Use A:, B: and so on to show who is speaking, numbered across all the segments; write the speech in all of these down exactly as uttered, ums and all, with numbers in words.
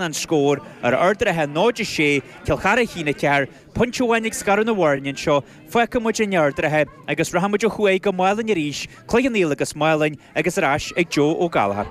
A: an scór ar Ard an Rátha náid a sé, Cill Chartha a haon a ceathair, pointe amháin ag scaradh na bhfoirne anseo, fágfaidh muid in Ard an Rátha agus rachaidh muid ó thuaidh go Málainn arís, Cloich Cheann Fhaola agus Málainn agus ar ais ag Joe Ó Gallchóir.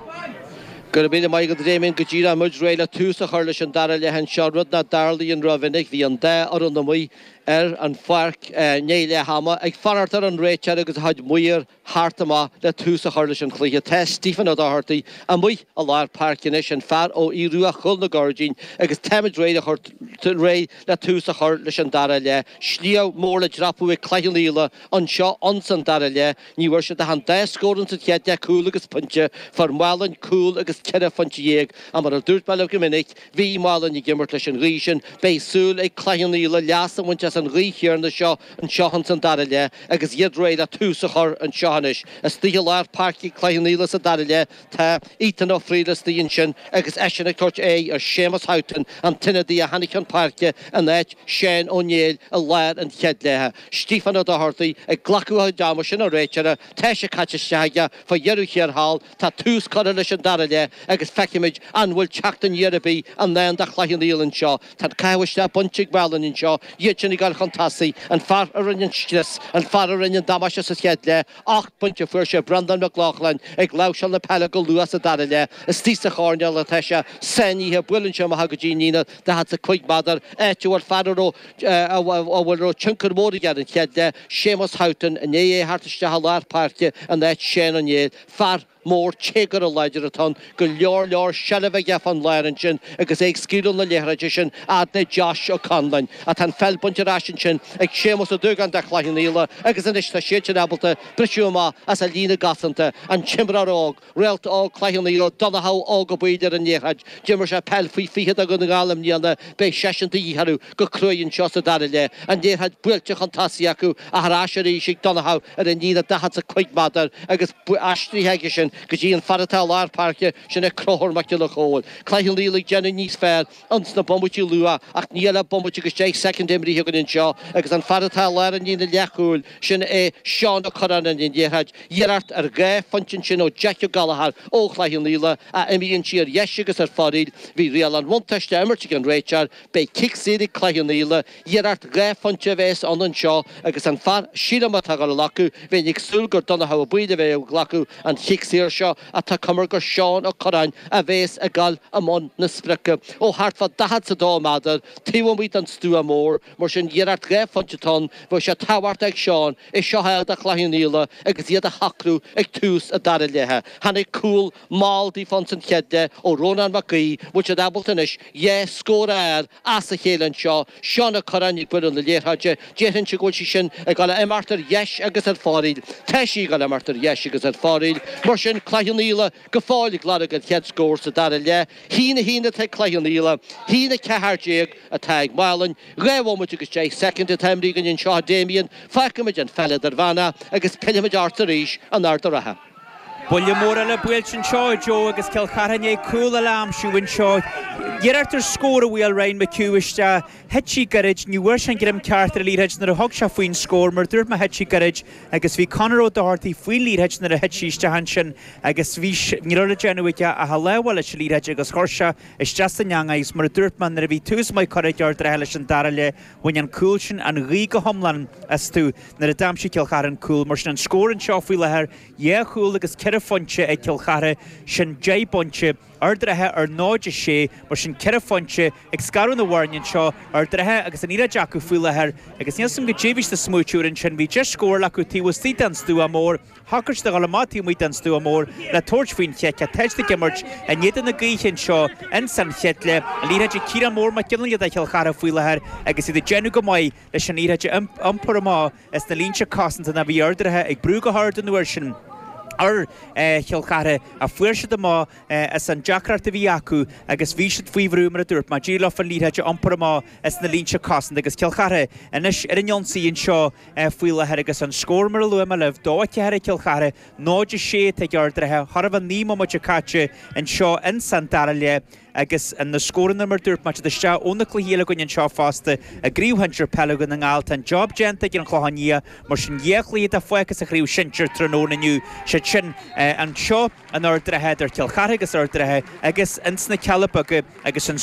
B: Go raibh míle maith agat a Damien, go díreach muid réidh le tús a chur leis an dara leath anseo, rud nach dtarlaíonn rómhinic. Bhí an dá fhoireann amuigh ar an pháirc i ndiaidh leath ama ag fanacht ar an réiteoir agus a chuid maor theacht amach le tús a chur leis an chluiche. Tá Stephen Ó Dochartaigh amuigh i lár páirce anois, an fear ó Aodh Ruadh Chúil na Gairdín, agus táimid réidh le réidh le tús a chur leis an dara leath. Sliabh mór le dreapadh ag Cloich Cheann Fhaola anseo ins an dara leath. Ní bhfuair siad ach an dá scór ins an chéad leath, cúl agus pointe. Fuair Málainn cúl agus ceithre phointe dhéag. Ach mar a dúirt mé libh go minic, bhí Málainn ag imirt leis an ghaoth sin. Beidh súil ag Cloich Cheann Fhaola leas a bhaint as an ghaoth chéanna seo anseo ins an dara leath agus iad réidh le tús a chur anseo anois. Istigh i lár páirce Cloich Cheann Fhaola sa dara leath tá Ethan Ó Frighil istigh ansin agus eisean ag tabhairt aghaidh ar Séamus Houghton, an t-ionadaí a tháinig chun páirce in áit Shane Ó Néill i lár an chéad leatha. Stephen Ó Dochartaigh ag glacadh a chuid ama, sin an réiteoir, tá sé caite isteach aige fá dheireadh thiar thall. Tá tús curtha leis an dara leath agus feicfimid an bhfuil teacht aniar ar bith i ndán do Chloich Cheann Fhaola anseo. Tá an caitheamh isteach bainte ag Málainn anseo, iad sin ag dul chun tosaigh, an fear a rinne an scrios, an fear a rinne an damáiste sa chéad leath, ocht bpointe a fuair sé, Breandán Mac Lochlainn ag láimhseáil na peile go luath sa dara leath. Istigh sa choirnéal atá sé sáinnithe, buaileann sé amach go dtí an líne daichead 's a cúig méadar, áit a bhfuil fear a raibh a bhfuil raibh tionchar mór aige ar an chéad leath, Séamus Houghton, i ndiaidh é a theacht isteach i lár páirce in áit Shane Ó Néill, fear mór téagartha láidir atá ann, go leor leor seilbh aige fán lár ansin agus é ag scaoileadh na liathróide sin fhad le Josh Ó Conláin. Ach tá an pheil bainte ar ais ansin ag Séamus Ó Dúgáin do Chloich Cheann Fhaola agus anois tá siad sin ábalta briseadh amach as a líne gcosanta. An t-imreoir óg, réalta óg Chloich Cheann Fhaola, Donnchadh Óg Ó Baoill ar an liathróid. D'imir sé peil faoi fiche do Dhún na nGall i mbliana. Beidh seisean de dhíth orthu go cruaidh anseo sa dara leath. An liathróid buailte chun tosaigh acu ach ar ais arís ag Donnchadh ar an líne daichead 's a cúig méadar agus aistrithe aige sin go dtí an fear atá i lár páirce, sin é Conchúr Mac Giolla Chóill. Cloich Cheann Fhaola ag déanamh níos fearr ins na bomaití luath ach níl ach bomaite agus deich soicind imrithe againn anseo agus an fear atá i lár an líne leathchúil, sin é Seán Ó Curráin ar an liathróid. Iarracht ar dhá phointe ansin ó Jeaic Ó Gallchóir ó Chloich Cheann Fhaola ach imíonn sí ar dheis agus ar foraíl. Bhí riail an bhuntáiste á imirt ag an réiteoir. Beidh cic saor ag Cloich Cheann Fhaola. Iarracht dhá phointe a bheas ann anseo agus an fear, sílim, atá ag dul a ghlacadh, bheinn ag súil gur Donnchadh Ó Baoill a bheidh ag glacadh an chic saor seo ach tá cuma gur Seán Ó Curráin a bheas ag dul i mbun na sprice ó thart fá daichead 's a dó méadar taobh amuigh den stua mór. Mar sin, iarracht dhá phointe atá ann, bheadh sé tábhachtach ag Seán é seo a fháil do Chloich Cheann Fhaola agus iad a shocrú ag tús an dara leatha. Tháinig cúl mall daofa ins an chéad leath ó Rónán Mac Aoidh, bhfuil siad ábalta anois dhá scór a fháil as a chéile anseo. Seán Ó Curráin ag bualadh na liathróide. Déarfainnse go bhfuil sí sin ag dul a imeacht ar dheis agus ar foraíl. Tá sí ag dul a imeacht ar dheis agus ar foraíl. Mar sin, Cloich Cheann Fhaola go fóill ag lorg an chéad scór sa dara leath. Haon a haon atá ag Cloich Cheann Fhaola, haon a ceathair déag atá ag Málainn. Dhá bhomaite agus deich soicind atá imrithe againn anseo a Damien. Fágfaimid an pheil idirmheánach agus pillfimid ort arís in Ard an Rátha.
A: Buille mór eile buailte anseo a Joe agus Cill Chartha i ndiaidh cúl eile a aimsiú anseo. Iarracht ar scór a bhuail Ryan McHugh isteach. Thit sí gairid, ní bhfuair sé an greim ceart ar an liathróid nuair a thug sé faoin scór, mar a dúirt mé thit sí gairid agus bhí Conor Ó Dochartaigh faoin liathróid nuair a thit sí isteach ansin agus bhí, ní raibh le déanamh aige ach a lámh a fháil leis an liathróid agus chuir sé isteach san eangach í agus mar a dúirt mé nuair a bhí tús maith curtha ag Ard an Rátha leis an dara leath, bhain an cúl sin an ghaoth go hiomlán astu nuair a d'aimsigh Cill Chartha an cúl. Mar sin an scór anseo faoi láthair, dhá chúl agus ceithre phointe ag Cill Chartha, sin deich bpointe. Ard an Rátha ar náid a sé, mar sin ceithre phointe ag scaradh na bhfoirne anseo, Ard an Rátha agus an liathróid acu faoi láthair agus níl 's agam goidé a bhí siad ag smaoitiú air ansin, bhí deis scórála acu taobh istigh den stua mór, shocraigh siad a dhul amach taobh amuigh den stua mór le tabhairt faoin chic ach tá siad ag imirt in éadan na gaoithe anseo ins an chéad leath. An liathróid ag Ciarán Mór Mac Fhionnghaile do Chill Chartha faoi láthair agus iad ag déanamh go maith leis an liathróid a iompar amach as na línte cosanta ná bhí Ard an Rátha ag brú go hard an uair sin ar Chill Chartha ach fuair siad amach as an deacracht a bhí acu agus bhí siad faoi bhrú mar a dúirt mé, d'éirigh leofa an liathróid a iompar amach as na línte cosanta agus Cill Chartha anois ar an ionsaí anseo faoi láthair agus an scór mar a luaigh mé libh, dó a ceathair ag Cill Chartha, náid a sé atá ag Ard an Rátha, chóir a bheith naoi mbomaite caite anseo ins an dara leath. agus na scóranna mar dúirt mé isteach ó na cluichí eile againn anseo fosta i gCraobh Shinsir Peile Dhún na nGall tá an job déanta ag an Chlochán Liath mar sin dhá chluiche atá fágtha sa chraobh shinsir tráthnóna inniu siad sin anseo in Ard an Rátha idir Cill Chartha agus Ard an Rátha agus ins na Cealla Beaga agus an